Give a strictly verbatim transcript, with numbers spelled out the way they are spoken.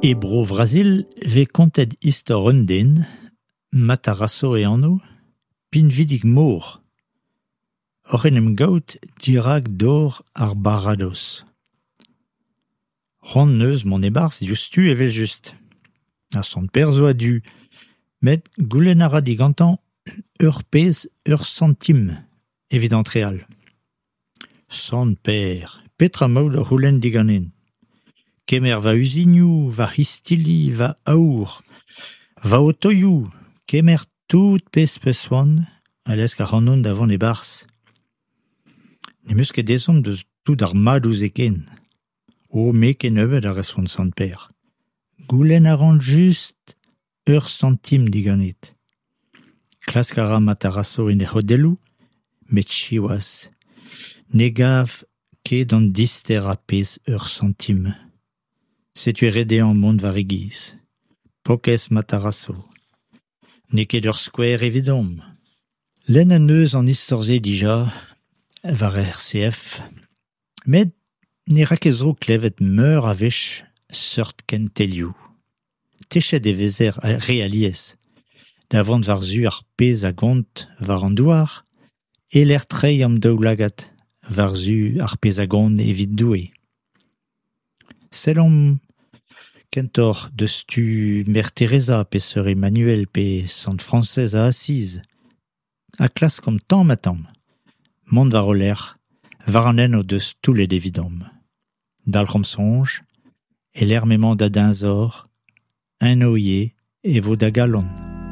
E Bro-Vrazil 'vez kontet istor un den, Matarasso e anv, pinvidik-mor, oc'h en em gavout dirak dor ar baradoz. C'hoant en deus mont e-barzh diouzhtu evel-just. Ha Sant Pêr zo a-du met goulenn a ra digantañ ur pezh ur santim evit antreal. Sant Pêr, petra emaout o c'houlenn diganin ? Kemer va uzinoù, va c'histilli, va aour, va otoioù, kemer tout pezh 'peus c'hoant ha lesk ac'hanon da vont e-barzh. Ne'm eus ket ezhomm eus tout ar madoù-se ken. O, me kennebeut, a respont Sant Pêr. Goulenn a ran just ur santim diganit. Klask a ra Matarasso en e c'hodelloù met siwazh, ne gav ket an disterañ pezh ur santim. Setu eo ret dezhañ mont war e giz. Paourkaezh Matarasso ! N'eo ket ur skouer evidomp. Lennet em eus an istor-se dija war R C F met ne ra ket zroug klevet meur a wech seurt kentelioù. Techet e vezer re alies da vont war-zu ar pezh a gont war an douar e-lec'h treiñ an daoulagad war-zu ar pezh a gont evit Doue. Sellomp kentoc'h deus tu Mère Teresa pe Sœur Emmanuel pe Sant Frañsez a Asiz ha klaskomp tamm-ha-tamm mont war o lerc'h war an hent o deus toullet evidomp. Dalc'homp soñj, e-lec'h m'emañ da deñzor, eno ivez e vo da galon.